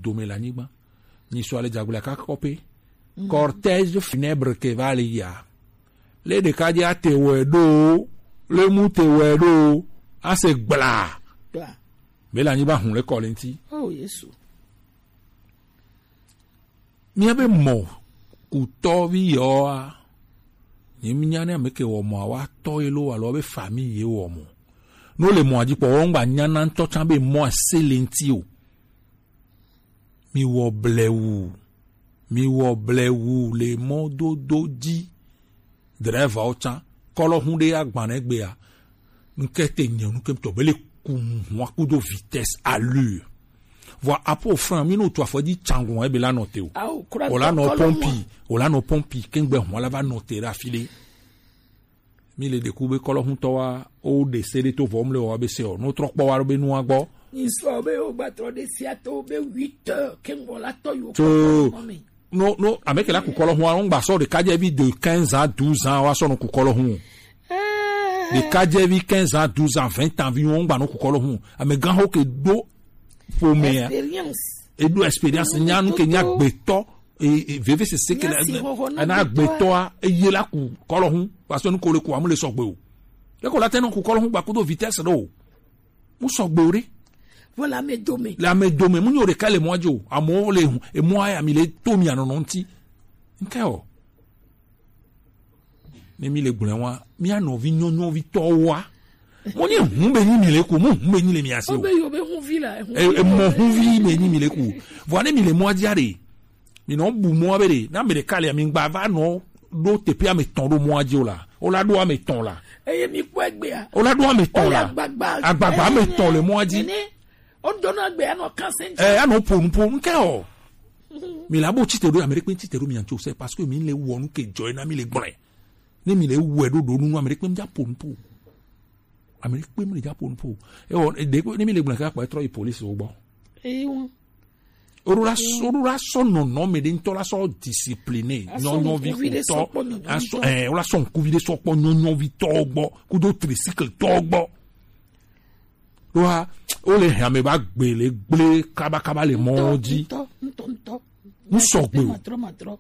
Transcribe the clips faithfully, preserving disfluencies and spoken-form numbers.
dome le anyigba. Nyi sɔ ale dzagbla kakɔ pe. Cortège funèbre ke va le ya. Le ɖeka dzi ate wɛ ɖo, le mu te wɛ ɖo, ase gbla. Gbla. Me le anyigba hun le kɔ le ŋuti. Oh, Yesu. Míabe mɔ kutɔvi yewoa, nye mínya ne ame ke wɔ mɔa, woatɔ ye lo alo be famille ye wɔ mɔ. Ne wole mɔa dzi kpɔ, woŋgba nyana ŋutɔ tsã be mɔa se le ŋuti o. Miwɔ blewu, miwɔ blewu le mɔdodo dzi. Drɛvawo tsã, kɔlɔxu ɖe agbanɛ gbea, ŋke te nye nu ke tɔ be le ku hua kudo vitesse à l'heure. Vɔ apo fran mi no tu afɔ dzi tsangun ebe la nɔ te o. Awo, kura o la tɔ nɔ kɔlɔxu pɔmpi, o la nɔ pɔmpi kengbe hua la va nɔ te ɖe afi ɖe. Mi le ɖeku be kɔlɔxutɔ wa o ɖe se ɖe to vɔ mle wa be se o no trɔ kpɔ wa be nua gbɔ. Ŋsɔ be o gba trɔ ɖe sia to be huit heures kengbe la tɔ yo. Tso. Kɔlɔxu me. No, no, ame ke la ku kɔlɔxu a, ŋgba sɔ ɖekadzevi de quinze ans, douze ans, wa sɔ no ku kɔlɔxu. Ɖekadzevi quinze ans, douze ans, vingt ans, vi ŋgba no ku kɔlɔxu. Ame gan ho ke do ƒomea. Expérience. E do expérience, nya nu ke nya gbetɔ, e, e, veve sese ke la, na gbetɔa, eye la ku kɔlɔxu, parce que nu ko le ku amu le sɔgbe o. E ko la te no ku kɔlɔxu gba kudo vitesse ɖo. Mu sɔgbe o ɖe. Vɔ le ame dome. Le ame dome, mu nyo ɖeka le mɔa dzi o. Amewo le hu, emɔa ya mi le to mi anɔnɔ ŋuti. Ŋke o. Ne mi le gblɔe wa, mia nɔvi nyɔnyɔvi tɔwoa. Mo nye hu be nyi mi le ku, mo hu be nyi le mi asi o. Obe yo be hu vi la, hu E, vi e mo la. Hu vi be nyi mi le ku. Vɔ ne mi le mɔa dzi a ɖe. Mi nɔ bu mɔa be ɖe, na me ɖeka le mi gba va nɔ ɖo teƒe ame tɔn ɖo mɔa dzi o la. O la ɖo ame tɔn la. Eye mi kpɔ egbea. O la ɖo ame tɔn la. Agbagba. Agbagba ame tɔn le mɔa dzi. Ene. O ɖo na egbea nɔ kanse. Eh, anɔ ponu ponu ke o. Mi la bo tite ɖo, ame ɖe kpe tite ɖo mi antso se parce que mi le wɔ nu ke dzɔ na mi le gblɔe. Ne mi le wɔ ɖo ɖo nu ame ɖe kpe mi dza ponu po. Ame ɖe kpe mi le dza ponu po. E o de ne mi le gblɔe ka kpa trɔ yi police wo gbɔ. Eyi wo. Oɖo la sɔ, oɖo la sɔ nɔnɔme ɖe ŋutɔ la sɔ discipline, nyɔnyɔvi kutɔ, asɔ, eh, wola sɔ ŋkuvi ɖe sɔ kpɔ nyɔnyɔvi tɔ gbɔ, kudo tricycle tɔ gbɔ. Ɖoa, wole hame ba gbe le gble kabakaba le mɔ dzi. Ŋutɔ, ŋutɔ, ŋutɔ. Ŋutɔ. Ŋutɔ. Ŋutɔ.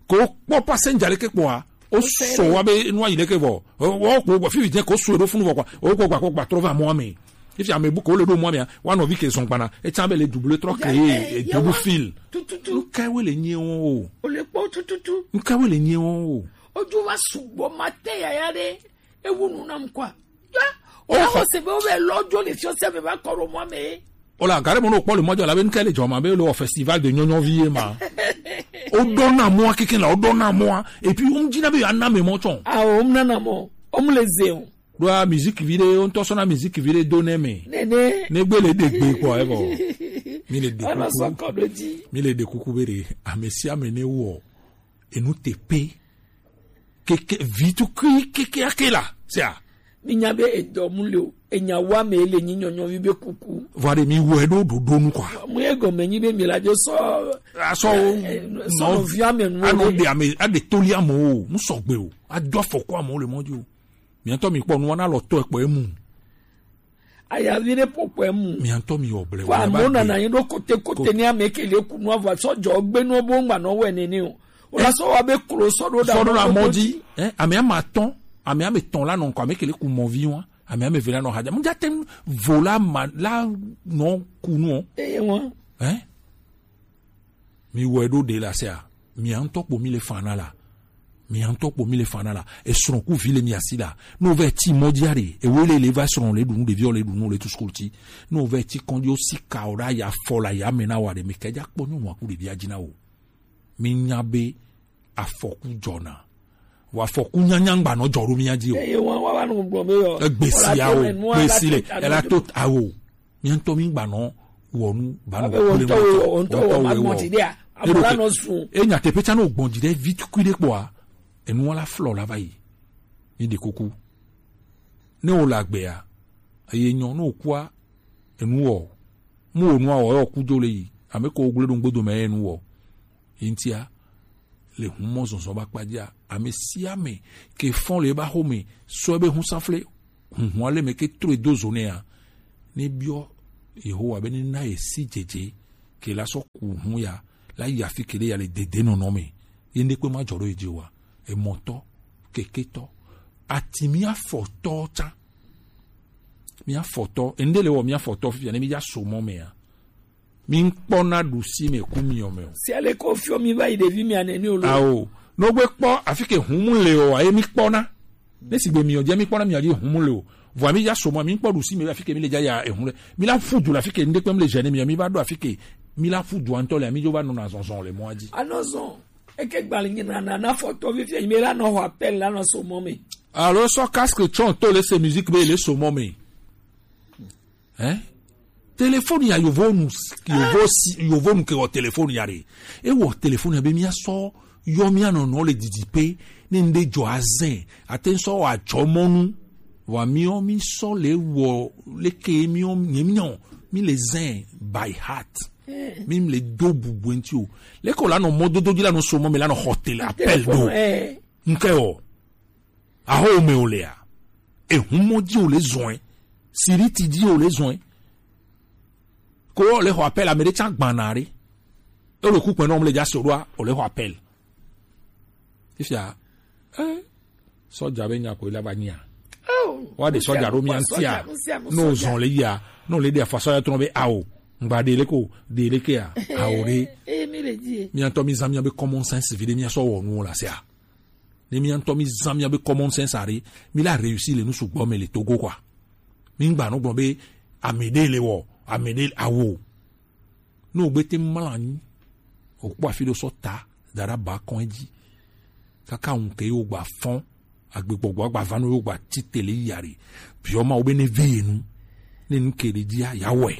Ko kpɔ passenger ɖeke kpɔa, o sɔ wa be nua yi ɖeke vɔ. O kpɔ gba fifi dze ko sɔ ɖo funu vɔ kpɔ. O kpɔ gba kpɔ gba trɔ va mɔa me. Efi ame bu ko le ɖo mɔa me. Wa nɔvi ke zɔn gbana. E tsa be le double trɔ ke ye, e double fil. Tututu. Nka we le nye wo o. O le kpɔ tututu. Nka we le nye wo o. Ojo va sugbɔ ma te yaya ɖe. Ewu nu nam kwa. Ya. O ya ho se be o be lɔ jo le fiɔ se be va kɔ ɖo mɔa me. O la gare mo no kpɔ le mɔdze la be ŋke le dzɔma be le wɔ festival de nyɔnyɔvi ye ma. O ɖɔ na mɔa keke la, o ɖɔ na mɔa. Et puis o mu dzi na be ya na me mɔ tsɔ. Ah, o mu na na mɔ. O mu le ze o. Ɖoa musique vi ɖe, o ŋutɔ sɔna musique vi ɖe do ne me. Nene. Ne gbe le de gbe kpɔ e bɔ. Mi le de kuku. Ana sɔ kɔ ɖo dzi. Mi le de kuku be ɖe. Ame sia ame ne wɔ. Enu te pe. Keke, vi tukui keke ake la. Sia. Mi nya be edɔ mu le o. Enya wa me le nyi nyɔnyɔvi be kuku. Vɔ ɖe mi wɔ ɖo ɖoɖo nu kɔ. Mu ye gɔme nyi be mi la jo sɔ. Asɔ o. Eh, eh, sɔ no vi ame nu. Ano de ame, ade toli ame o. Mu sɔgbe o. Ado afɔku ame o le mɔ dzi o. Mi ŋutɔ mi kpɔ nua na lɔ tɔ ekpɔ emu. Ayavi ɖe po kpɔ emu. Mi ŋutɔ mi wɔ blewu. Ko amewo nana anyi ɖo kote kote ni ame ke le ku nua vɔ sɔ dzɔ gbe nua bo ŋgba nɔ wɛ nene o. O la sɔ wa be klo sɔ ɖo ɖa. Sɔ ɖo ɖa mɔ dzi. Eh, ame ama tɔn, ame ame tɔn la nɔ ŋkɔ, ame ke le ku mɔ vi wa, ame ame ve la nɔ hadza. Mu dza te ŋu vo la ma la nɔ ku nu o. Eye wa. Eh? Mi wɔ ɖo ɖe la sea, mi ŋutɔ kpo mi le fa na la. Mi ŋutɔ kpo mi le fa na la. Esrɔ̃ ku vi le mi asi la. No vɛ ti mɔ dzi are. Ewe le le va srɔ̃ le ɖu nu ɖeviwo le ɖu nu le tu school ti. No vɛ ti kɔn yo si ka o ɖa ya fɔ la ya me na wa ɖe mi ke dza kpɔ nyɔnu aku ɖevi adzi na o. Mi nya be afɔku dzɔna. Wa afɔku nyanya ŋgba nɔ dzɔ ɖo mi adzi o. Eye wa wa wa no gblɔ be yɔ. Egbe si ya o. Gbe si le. Ela to awo. Mía ŋutɔ mí gbanɔ wɔ nu, ba nɔ kple mɔ tɔ, wɔ ŋutɔ wɔ ma gbɔn dzi ɖea, ame la nɔ sun. E nyateƒe tsã ne wògbɔn dzi ɖe vi tukui ɖe kpɔa, enua la flɔ la va yi. Mí ɖe kuku. Ne wòle agbea, eye nyɔ, ne wòkua, enu wɔ. Mu wò nua wɔ, yɔ ku dzo le yi. Ame ko wògblẽ ɖo ŋgbodo me enu wɔ. Yi ŋutia, le humɔ zɔzɔ ba kpadzia, ame sia ame ke fɔn le eba xome sɔ ebe husanfle hunhun ale me ke trɔe do zo nɛa, ne biɔ Yehowa be ne na ye si dzedze ke la sɔ ku hun ya, la yi afi ke ɖe ya le dede nɔnɔ me. Ye ŋɖe kpe ma dzɔ ɖo yi dzi o wa. Emɔtɔ, keketɔ, ati mi afɔtɔ tsa. Mi afɔtɔ, eŋɖe le wɔ mi afɔtɔ fifia ne mi dza so mɔ mea. Mi ŋkpɔna ɖusi me ku miɔ me o. Si ale ko fiɔ mi va yi ɖevi mi anɛ ni o lo. Ao, no gbe kpɔ afi ke hun mu le o, aye mi kpɔna. Ne sigbe miɔ dzi mi kpɔna miɔ dzi hun mu le o. Vɔa mi dza so mɔ mi ŋkpɔ ɖusi me afi ke mi le dza ya ehun le. Mi la fu du le afi ke ŋɖe kpe mi le gêner miɔ mi va ɖo afi ke mi la fu du ŋutɔ le mi dzo va nɔna zɔzɔ le mɔa dzi. Anɔ zɔn. Eke gbalẽ nyi nana na fɔtɔ fifia yi me la nɔ xɔ appel la nɔ so mɔ me. Alo sɔ casque tsɔ to le se musique be le so mɔ me. Hein? Téléphone ya yovo nu yovo si yovo nu ke wɔ téléphone ya re. E wɔ téléphone ya be mia sɔ yɔ mia nɔnɔ le didi pe ne ŋɖe dzɔ azɛ ate sɔ wɔ adzɔmɔnu. Wa miɔ mi sɔ le wɔ leke miɔ nye miɔ mi le zɛ by heart. Mi le do bubu ŋti o. Leke o la nɔ mɔdodo dzi la nɔ so mɔ me la nɔ xɔ tele appel do. Ŋkɛ o. Aho me o le a. Ehun mɔ dzi o le zɔn. Siriti dzi o le zɔn. Ko o le xɔ appel ame ɖe tsa gbana ɖe. E le ku kpɛ nɔ o le dza so ɖoa o le xɔ appel. Fifia, eh, sɔdza be nya ko la va nyia. Wa de sɔdza ɖo mia ŋtia. No zɔn le yia. No le de afa sɔdza trɔ be ao. Ngba de le ko, de le ke a. Ao de. Eh, mi le di. Mi ŋutɔ mi zan mia be common sense vi de mia sɔ wɔ nu la se a. Ne mia ŋutɔ mi zan mia be common sense a de, mi la réussir le nu sugbɔ me le Togo quoi. Mi ŋgba no gblɔ be ame de le wɔ, ame de awo. Ne wògbe te mlɔ anyi, wòkpɔ afi ɖe sɔ ta da ɖe aba kɔn dzi. Kaka ŋu ke yewo gba fɔn, agbegbɔgbɔ agba va nɔ yewo gba tsi te le yi aɖe. Biɔ ma wo be ne ve ye nu, ne nu ke ɖe dzia, ya wɔe.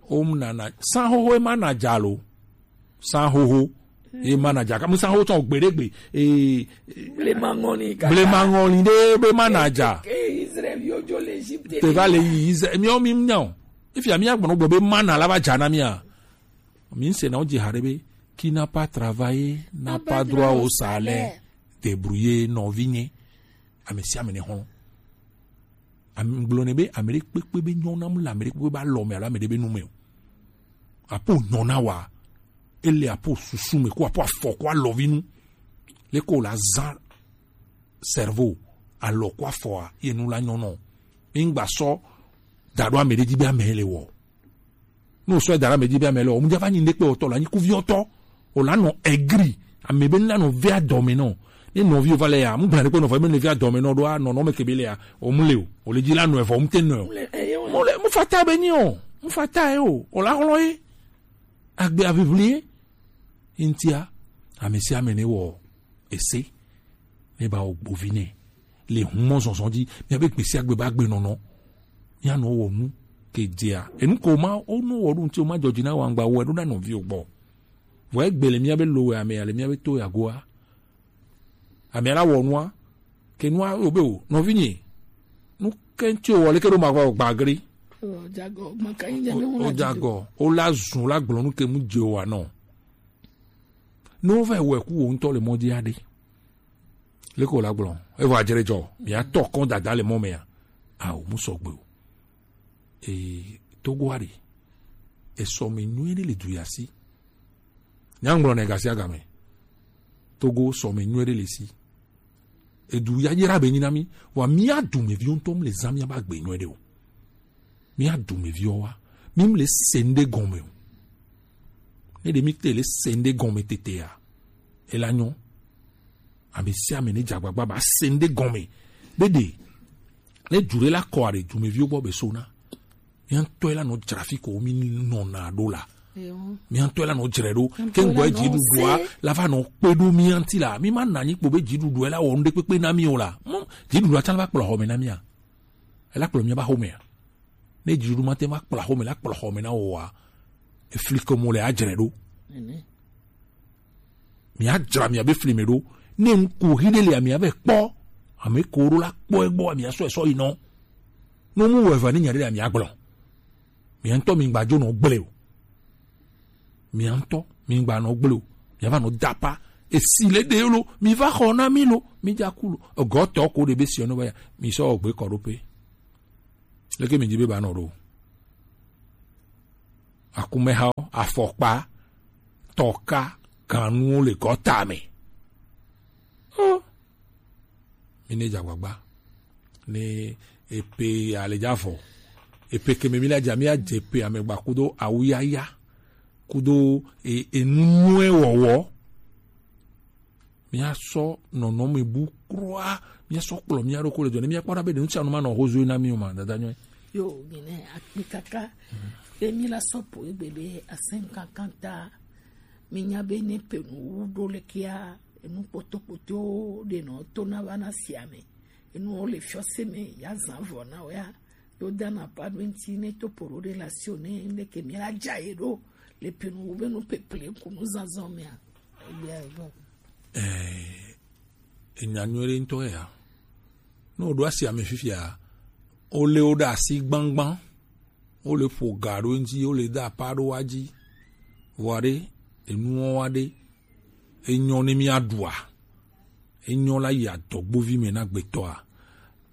Wo mu nana, san xoxo ye ma na dza lo. San xoxo ye ma na dza. Ka mu san xoxo tsɔ gbe ɖe gbe. Ee, blema ŋɔli ɖe be ma na dza. Ke Israël yo dzo le Égypte. Te va le yi Israël. Miawo mi nya o. Efia mi agblɔ gblɔ be mana la va dza na mia. Mi se na wo dzi haɖe be qui n'a pas travaillé n'a pas droit au salaire. Débrouiller nɔvi nye. Ame sia ame ne xlɔ̃. Ame gblɔ ne be ame ɖe kpekpe be nyɔ nam le ame ɖe kpekpe be alɔ me alo ame ɖe be nu me o. Apo nyɔ na wa. Ele apo susu me ko apo afɔ ko alɔvi nu. Le ko la zã cerveau, alɔ ko afɔa, ye nu la nyɔ nɔ. Mi ŋgba sɔ da ɖo ame ɖe dzi be ame le wɔ. Ne wosɔ da ɖo ame dzi be ame le wɔ, mu dza va nyi ŋɖe kpe wòtɔ, la nyi kuviɔtɔ, o la nɔ egri, ame be la nɔ vea dɔme nɔ. Ne nɔvi va le ya, mu gbla ɖe kpe nɔ vɔ, me ne vea dɔme nɔ ɖoa, nɔnɔ me ke be le ya, o mu le o, o le dzi la nɔ evɔ, mu te nɔ o. Mu le, mu fata be nyi o, mu fata ye o, o la xlɔ ye, agbe avivli ye, ŋtia, ame sia ame ne wɔ ese, ne ba wɔ gbovi nɛ le hun mɔ zɔzɔ dzi, miabe gbesiagbe ba gbe nɔnɔ, mianɔ wɔ nu ke dzea enu ko ma wo nu wɔ ɖo ŋuti o ma dzɔdzi na wangba wɔ ɖo na nɔviwo gbɔ. Vɔ egbe le miabe lo wɛ ame ale miabe to yagoa, ame ala wɔ nua ke nua wo be o nɔvi nye nu ke ŋuti o wɔ leke ɖo ma gba gbagri. O jagɔ o la zun la gblɔ nu ke mu dze o wa nɔ. Ne wova wɔ eku wo ŋutɔ le mɔ dzi aɖe. Leke wòle agblɔ? Evɔ adzre dzɔ. Miatɔ kɔn dada le mɔ mea? Ao, mu sɔgbe o. Ee, Togo aɖe. Esɔ me nyuie ɖe le du ya si. Nyagblɔ ne gasia game. Togo sɔ me nyuie ɖe le si. Edu yayra be nyi na mi. Wa mia dumeviwo ŋutɔ mu le zã miabe agbe nyuie ɖe o. Mía dumeviwo wa, mi mu le se ŋɖe gɔme o. Ne ɖe mi te le se ŋɖe gɔme tetea, ela nyɔ. Ame sia ame ne dze agbagba ba se ŋɖe gɔme. Be ɖe ne du ɖe la kɔ aɖe dumeviwo gbɔ be so na. Mía ŋutɔ la nɔ dzra fi ko mi nɔna ɖo la. Mía ŋutɔ la nɔ dzre ɖo. Ke ŋgɔ dziɖuɖua la va nɔ kpe ɖo mía ŋuti la. Mi ma na anyi kpo be dziɖuɖua la wɔ ŋɖe kpekpe na mi o la. Dziɖuɖua tsã la va kplɔ xɔme na mía. Ela kplɔ mía va xɔmea. Ne dziɖuɖu ma te va kplɔ xɔme la kplɔ xɔme na wò wa, efli ke mo le adzre ɖo. Mia dzra mia be fli me ɖo. Ne ŋku hi ɖe le amia be kpɔ, ame ko ɖo la kpɔ egbɔ amia sɔ esɔ yi nɔ. No mu wɔ eva ne nya ɖe le amia gblɔ. Mia ŋutɔ mi gba dzo nɔ gblẽ o. Mia ŋutɔ mi gba nɔ gblẽ o. Mia va nɔ dapa. Esi le ɖe lo, mi va xɔ na mi lo, mi dza ku lo. Egɔtɔ ko ɖe be si ɔnɔ va ya, mi sɔ gbe kɔ ɖo pe. Leke mi dzi be ba nɔ ɖo? Akumɛhawo, afɔkpa, tɔka, ganuwo le gɔta me. Oh. Mi ne dze agbagba ne epe ale dza vɔ. Epe ke me mi la dza mi adze pe amegba kudo awuyaya kudo e- enu nyuie wɔwɔ. Míasɔ nɔnɔme bu kura, míasɔ kplɔ mía ɖokui le dɔ ne míakpɔ ɖa be ɖe nu sia nu manɔ hozoe na mí o ma, dada nyɔe. Yo, mi ne akpi kaka be mi la sɔ po egbe be asɛn kankan ta, mi nya be ne pe nu wu ɖo le kia, enu kpotokpoto ɖe nɔ to na va na sia me, enuwo le fiɔse me ya zan vɔ na o ya, yo dana pa ɖo ŋti ne to po ɖo ɖe la sio ne ne ke mi la dza ye ɖo le pe nu wu be nu peple ku nu zazɔ mea. Egbea ego. Eh, enya nyuie ɖe ŋutɔ ya. Ne woɖo asi ame fifia, wole wo ɖe asi gbangban, wole ƒo ga ɖo eŋuti, wole da apa ɖo wa dzi. Vɔa ɖe, enuwo wa ɖe, enyɔ ne míaɖua, enyɔ la yi adɔgbovi me na gbetɔa.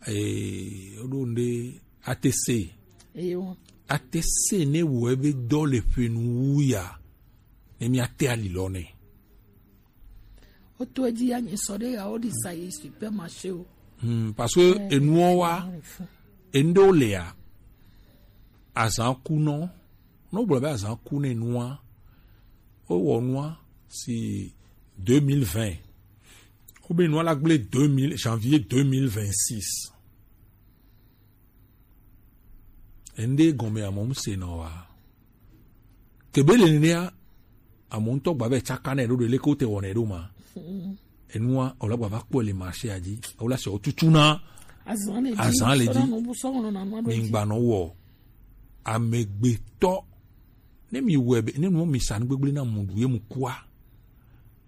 Ee, woɖo ŋɖe atese. Eyo. Atese ne wɔ ebe dɔ le ƒe nu wu ya, ne míate ali lɔ nɛ. Woto edzi ya nye sɔ ɖe ya woɖi sa yi supermarché o. Hmm, parce que enuwo wa, enu ɖewo lia, azã ku nɔ. Ne wogblɔ be azã ku ne nua, wowɔ nua si deux mille vingt. Wobe nua la gblẽ deux mille, janvier deux mille vingt-six. Enu ɖe gɔme amewo mu se nɔ wa. Kebe le nenea, amewo ŋutɔ gba be tsaka nɛ ɖo ɖe leke wote wɔnɛ ɖo ma. Enua, wòle gba va kpɔe le marché a dzi. Wòle asɔ tutu na azã le dzi. Azã le dzi. Sɔ na nu bu sɔ ŋlɔ na nua ɖo dzi. Migba nɔ wɔ. Amegbetɔ, ne mi wɔe be, ne nua mi sa nu gbegblẽ na mu ɖu ye mu kua.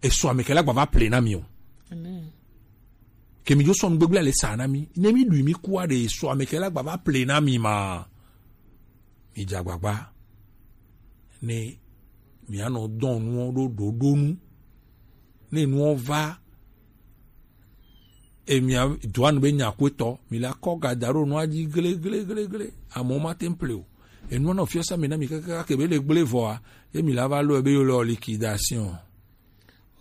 Esɔ ame ke la gba va ple na mi o. Amen. Ke mi dzo sɔ nu gbegblẽ le sa na mi. Ne mi ɖui mi kua ɖe esɔ ame ke la gba va ple na mi ma. Mi dze agbagba ne mianɔ dɔn nuwo ɖo ɖoɖo nu. Ne nuwo va, e mia doa nu be nyakuetɔ, mi la kɔ ga da ɖo nua dzi gle, gle, gle, gle. Amewo mate ŋu ple o. Enua nɔ fiɔsa mi na mi kakaka ke be le gble vɔa, ye mi la va lɔe be yo le liquidation.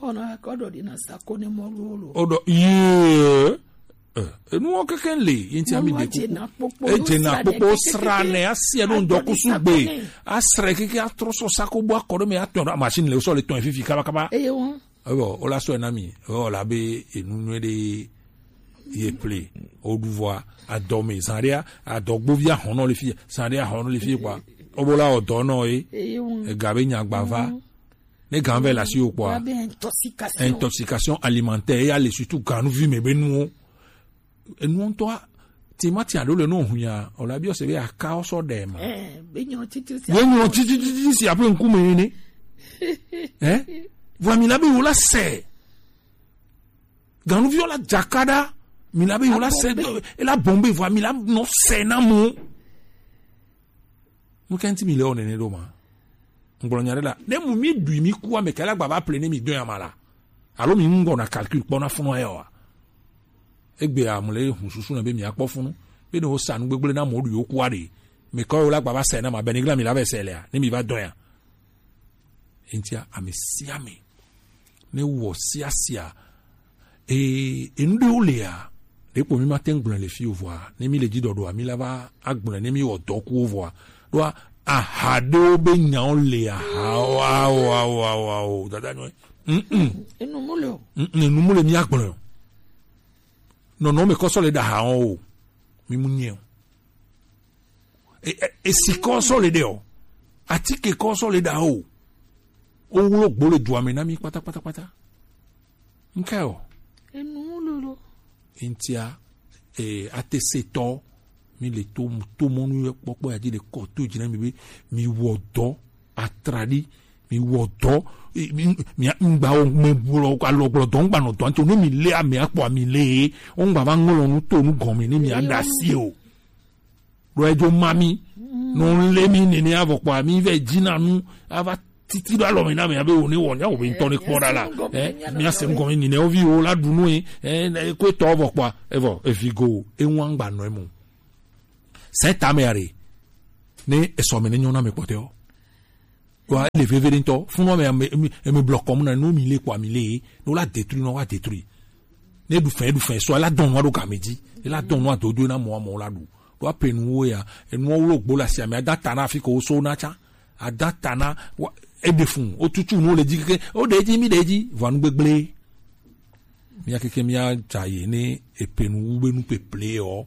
Ona kɔ ɖo ɖi na sa ko ne mɔ lo lo. O ɖo, yee. Eh, enuwo keke le, ye ŋuti ami ɖe kuku. Edze na kpokpo sra nɛ, asi eɖo ŋdɔkusu gbe. Asrɛ keke atrɔ sɔ sako bo akɔ ɖo me atɔ ɖo machine le sɔ le tɔn fifi kaba kaba. Eye wo. Ebo, o la sɔ na mi. O la be enu nyuie ɖe ye ple. O ɖu vɔa, adɔ me, zan ɖea, adɔgbovi ahɔnɔ le fi, zan ɖea ahɔnɔ le fi kpa. O bo la o dɔ nɔ ye. Eye wo. Ega be nya gba va. Ne gan vɛ le asiwò kpɔa, intoxication alimentaire, eya le surtout ganuvi me be nuwo. Enuwo ŋutɔa, timati aɖewo le no hunya, o la biɔ se be aka o sɔ ɖe ma. Eh, be nyɔ titi si. Be nyɔ titi titi si aƒe ŋkume ene. Eh? Vɔ mi la be wo la se. Ganuvi o la dzaka ɖa, mi la be wo la se, e la bombe vɔ mi la nɔ se na mo. Nu ka ŋuti mi le wɔ nene ɖo ma? Ŋgblɔ nya ɖe la. Ne mu mi ɖui mi ku ame ke la gba va ple ne mi dɔn ya ma la. Alo mi ŋgɔ na calcul kpɔ na funu ya wa. Egbe a mu le hun susu na be mi akpɔ funu. Be ne wo sa nu gbegble na mo ɖui wo ku a ɖe. Me kɔ yo la gba va se na ma be ni gla mi la be se le a. Ne mi va dɔn ya. Entia ame sia ame. Ne wɔ sia sia. Ee, enu ɖewo lia, ɖekpo mi ma te ŋu gblɔe le fi o vɔa, ne mi le dzi ɖɔɖɔa, mi la va agblɔe ne mi wɔ dɔ kuwo vɔa. Ɖoa, aha ɖewo be nyawo le aha o, ao, ao, ao, ao, dada nyɔe. Mm-mm. Enu mu le o. Mm-mm, enu mu le mi agblɔe o. Nɔnɔ me kɔ sɔ le ɖa aha o. Mi mu nyɛ o. E, e, esi kɔ sɔ le ɖe o. Atike kɔ sɔ le ɖa o. Wo wlo gbo le dua me na mi kpata, kpata, kpata. Nke o. Enu lolo. Entia, eh, atesetɔ, mi le to, to mɔnu yɛ kpɔkpɔ ya dzi le kɔ to dzi na mi be, mi wɔ dɔ, atraɖi, mi wɔ dɔ, eh, mi, mi, ŋgba wɔ me gblɔ, alɔ gblɔ dɔ, ŋgba nɔ dɔ, anto ne mi le ame akpɔ mi le, ŋgba va ŋlɔ nu to nu gɔme, ne mi aɖa si o. Ɖo edzo ma mi. No le mi nene avɔ kpɔ mi vɛ dzina nu ava titi ɖo alɔ me na mi abe wo ne wɔ nya wo be ŋtɔ ne kpɔ ɖa la. Eh, mi ase ŋgɔ mi nene wo vi wo la ɖu nu e. Eh, ko etɔ vɔ kpɔ evɔ evi go e ŋu angba nɔ emu. Sɛ ta me are ne esɔ me ne nyɔ na me kpɔtɛ o. Wa le veve ɖe ŋutɔ. Funu ame ame ame ame blɔ kɔmu na nu mi le kɔ ami le. No la détruit no wa détruit. Ne du fɛn du fɛn so la dɔn wa do game dzi. La dɔn wa dodo na mɔ mɔ la du. Do ape nu wo ya. Enu wo lo gbo la si ame ada ta na fi ko so na cha. Ada ta na wa e de fun. O tutu no le dzi ke. O de dzi mi de dzi. Va nu gbegble. Mía keke mía dza ye ne epe nu wu be nu peple ɔ.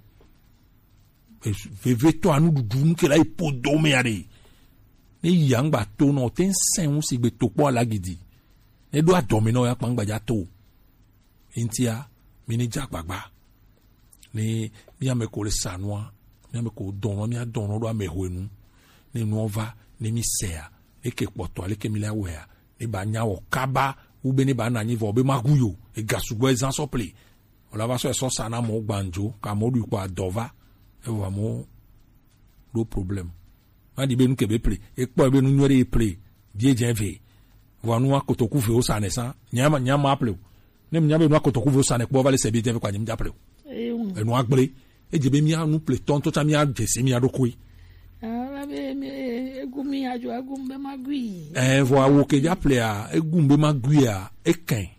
Vevetɔ anu ɖuɖu nu ke la yi po do me ya ɖe. Ne yi angba to nɔ te ŋsɛn ŋu si gbe to kpɔ ala gidi. Ne ɖo adɔme nɔ ya kpangba dza to. Ŋtia mi ni dza gbagba. Ne mía me ko le sa nua, mía me ko dɔnɔ mía dɔnɔ ɖo ame hwe nu. Ne nua va ne mi sɛa, ne ke kpɔtɔ ale ke mi la wɛa, ne ba nya wɔ kaba wu be ne ba na nyi vɔ be ma gu yo. Ega sugbɔ ezan sɔ ple. Wòle va sɔ esɔ sa na amewo gbandzo, ke amewo ɖui kpɔ adɔ va, evɔ amewo ɖo problem. Ma ɖi be nu ke be ple, ekpɔ be nu nyuie ɖe ye ple, bie dze ve, vɔ nua kotoku vewo sa ne sa, nya ma nya ma ple o. Ne nya be nua kotoku vewo sa ne kpɔ va le se bie dze ve kpa nyim dza ple o. Enua gble, edze be mia nu ple tɔntɔ tsa mia dze se mia ɖokoe. Ala be mi egu mi adzo egu be ma gui. Eh, vɔ awo ke dza plea, egu be ma guia, ekɛn.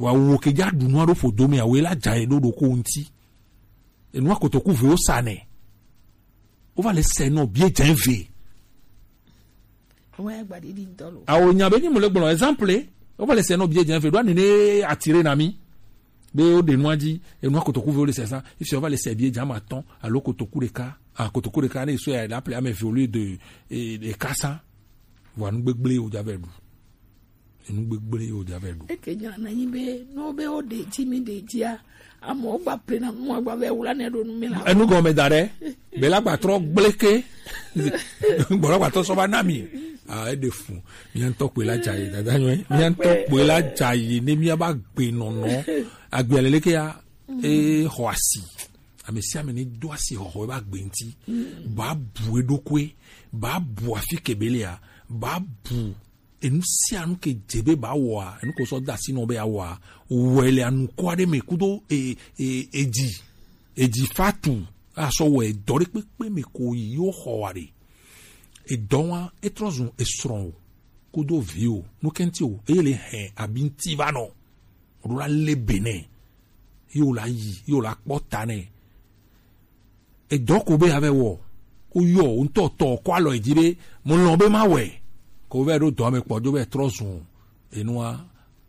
Wa wo ke dza ɖu nua ɖo ƒodo me awoe la dza ye ɖo ɖoko ŋuti. Enua kotoku ve wo sa nɛ. Wo va le sɛ nɔ bie dze ve. Awo nya be ni mo le gblɔ exemple. Wo va le sɛ nɔ bie dze ve ɖo ani ne atire na mi. Be wo ɖe nua dzi enua kotoku ve wo le sɛ sa. Ifi wo va le sɛ bie dze ama tɔn alo kotoku ɖeka. Ah, kotoku ɖeka ne so ya la ple ame ve au lieu de eh, ɖeka sa. Vɔ anu gbegble wo dza vɛ ɖu. Enu gbegble ye wòdza vɛ ɖu. Eke nya na nyi be no be wo de dzi mi de dzia, amewo gba ple na nua gba vɛ wula ne ɖo nu mi la. Enu gɔme da ɖe, be la gba trɔ gbleke, gbɔdɔ gba tɔ sɔ va na mi. Ah, eɖe fu. Mía ŋutɔ kpoe la dza yi, dada nyɔe. Mía ŋutɔ kpoe la dza yi, ne mía ba gbe nɔnɔ. Agbe aleleke ya, e xɔ asi. Ame sia ame ne do asi xɔxɔ eba gbe ŋuti. Ba bu eɖokue, ba bu afi kebelea, ba bu enu sia nu ke dze be ba wɔa, enu ko sɔ da asi nɔ be awɔa, wɔe le anukɔ aɖe me kudo e, e, edzi, edzi fatu, asɔ wɔ edɔ ɖe kpekpe me ko yi yo xɔ wa ɖe. Edɔ wa etrɔ zun esrɔ̃ o, kudo vi o, nu kɛnti o, eye le hɛn abi ŋti va nɔ, o ɖo la le be nɛ, yo la yi, yo la kpɔ ta nɛ. Edɔ ko be avɛ wɔ, woyɔ wo ŋutɔ tɔ kɔ alɔ edzi be mo lɔn be ma wɔe. Ko vɛ ɖo dɔ me kpɔ dzo vɛ trɔ zun enua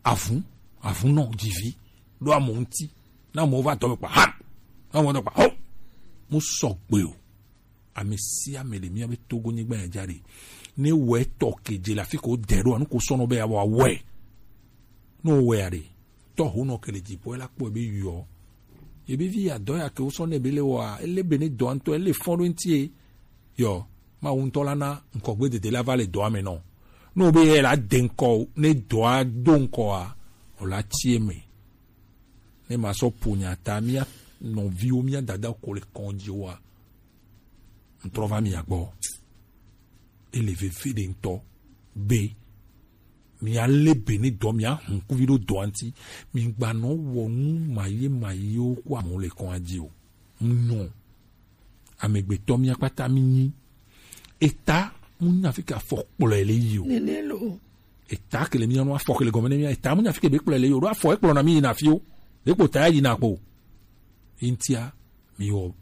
avun, avun nɔ dzivi ɖo amewo ŋuti. Na amewo va dɔ me kpa ha, na amewo dɔ kpa ho. Mo sɔgbe o. Ame sia ame le mía be Togo nyigba ya dza ɖe. Ne wɔ etɔ ke dze le afi ko dɛ ɖo anu ko sɔnɔ be ya wɔ awɔe. Ne wɔ ya ɖe. Tɔho nɔ ke le dziƒo la kpɔe be yɔ. Ye be vi ya dɔ ya ke wosɔ nɛ be le wɔa, ele be ne dɔa ŋutɔ ele fɔn ɖo ŋuti ye. Yɔ, Mawu ŋutɔ la na ŋkɔgbe dede la va le dɔa me nɔ. Ne wo be ye la de ŋkɔ ne dɔa do ŋkɔa, o la tsi eme. Ne ma sɔ ƒo nya ta mía nɔviwo mía dada ko le kɔn dzi wa. Ŋtrɔ va mia gbɔ. Ele veve ɖe ŋutɔ be mia le be ne dɔ mia hun kuvi ɖo dɔa ŋuti. Mi gba nɔ wɔ nu maye mayewo ko amewo le kɔn dzi o. Nyɔ. Amegbetɔ mia kpata mi nyi. Eta mu nya fi ke afɔ kplɔe le yi o. Nene lo. Eta ke le mia nu afɔ ke le gɔme ne mia eta mu nya fi ke be kplɔe le yi o. Ɖo afɔ ekplɔ na mi yi na fi o. Ɖe kpo ta yi na kpo. Intia mi wɔ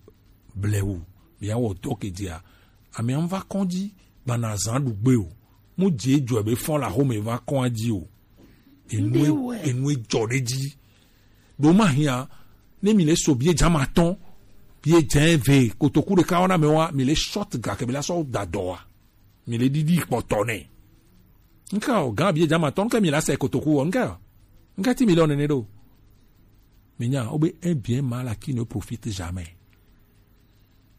blewu mi awɔ dɔ ke dia. Ame an va kɔn dzi gbana zan ɖu gbe o. Mu dzi edzɔ be fɔn la xome va kɔn dzi o. Enue enue dzɔ ɖe dzi. Ɖo ma hia ne mi le so bie dza ma tɔn bie dze ve kotoku ɖeka wɔna me wa mi le short ga ke mi la sɔ da dɔ wa mi le ɖiɖi kpɔtɔ nɛ. Nka o gan bie dza ma tɔn ke mi la sɛ kotoku wɔ nka o nka ti mi le ɔnene ɖo. Mi nya o be un bien mal acquis ne profite jamais.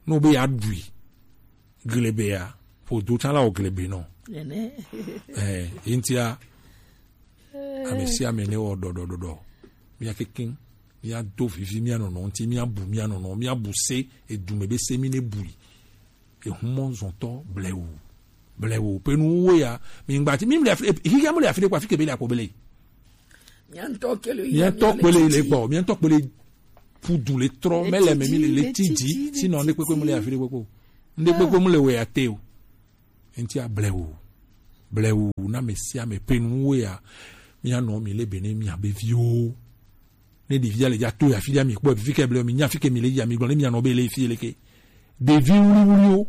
No be ya ɖui glebea ƒodo tsã la wɔ glebe nɔ. Nene. Eh, intia ame sia ame ne wɔ ɖɔɖɔɖɔɖɔ. Mia kekeŋ, mia do vivi mia nɔnɔ ŋuti, mia bu mia nɔnɔ, mia bu se edume be se mi ne bui. Ehumɔ zɔntɔ blewu. Blewu pe nu wo ya mi ŋgba ti mi mle afi higa mle afi de kwa fi ke be le akpo bele. Mia ŋutɔ ke le mia ŋutɔ kpele le gbɔ mia ŋutɔ kpele pudu le trɔ mele me mi le le ti dzi sinɔ ne kpekpe mle afi de kpekpe. Nde kpekpe mle we ate o. Enti a blewu. Blewu na ame sia ame pe nuwo ya. Mía nɔ mi le be ne mía be viwo. Ne ɖevi ya le dza to ya fi ɖe mi kpɔ fi ke blewu mi nya fi ke mi le ya mi gblɔ ne mía nɔ be le fi le ke. Ɖevi wuliwuliwo.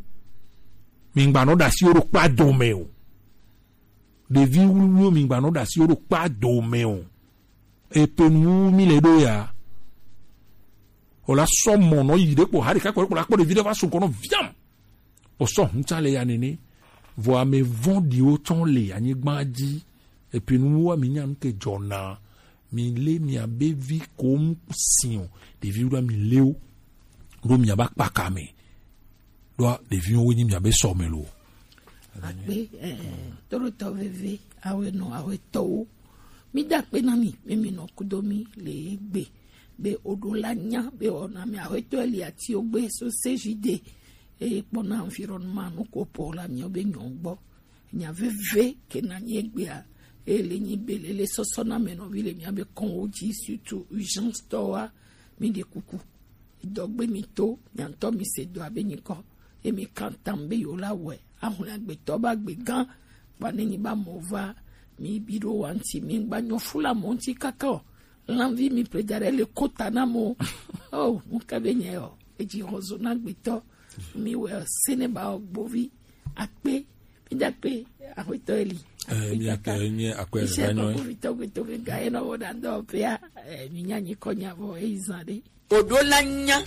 Mi gba nɔ ɖe asi wo ɖo kpa dome o. Ɖevi wuliwuliwo mi gba nɔ ɖe asi wo ɖo kpa dome o. Epe nuwo mi le ɖo ya. O la sɔ mɔ nɔ yi ɖe kpɔ ha ɖeka kpɔ ɖe kpɔ la kpɔ ɖevi ɖe va so kɔnɔ viam. O sɔ hun tsa le ya nene. Vɔ ame vɔ̃ɖiwo tsɔ le anyigba dzi. Epe nuwo mi nya nu ke dzɔna. Mi le mia be vi ko mu si o. Ɖevi ɖo mi le o. Ɖo mia ba kpaka me. Ɖoa ɖeviwo wo nyi mia be sɔ me lo. Akpe eh, torotɔ veve awe nɔ awe tɔwo. Mi da akpe na mi mi mi nɔ kudo mi le egbe be oɖo la nya be ɔna mi awe tɔ li ati ogbe so sejide eye kpɔna environnement nu ko pɔ la mi be nyɔ gbɔ. Nya veve ke na nyi egbea eye le nyi be le le sɔsɔ na me nɔvi le mia be kɔn wo dzi surtout urgence tɔ wa mi de kuku. Dɔgbe mi to, miantɔ mi se dɔ abe nyikɔ. Ye mi kan tam be yo la wɛ. Ahun agbetɔ ba gbe gan. Kpa ne nyi ba mɔ va. Mi bi ɖo wa ŋti, mi gba nyɔ fula mɔ ŋti kaka o. Lanvi mi ple da ɖe le kota na mo. Oh, mu ka be nye o. Eji hɔzo na gbetɔ. Mi wɛ sene ba o gbovi. Akpe. Mi da akpe. Aƒetɔ Eli. Eh, mi ake nye akpe. Iṣẹ́ gbanyɔ. Kpovitɔ gbetɔ ke ga ye nɔ wɔ da dɔ pea. Eh, mi nya nyi kɔ nya vɔ eyi zan ɖe. Oɖo la nya.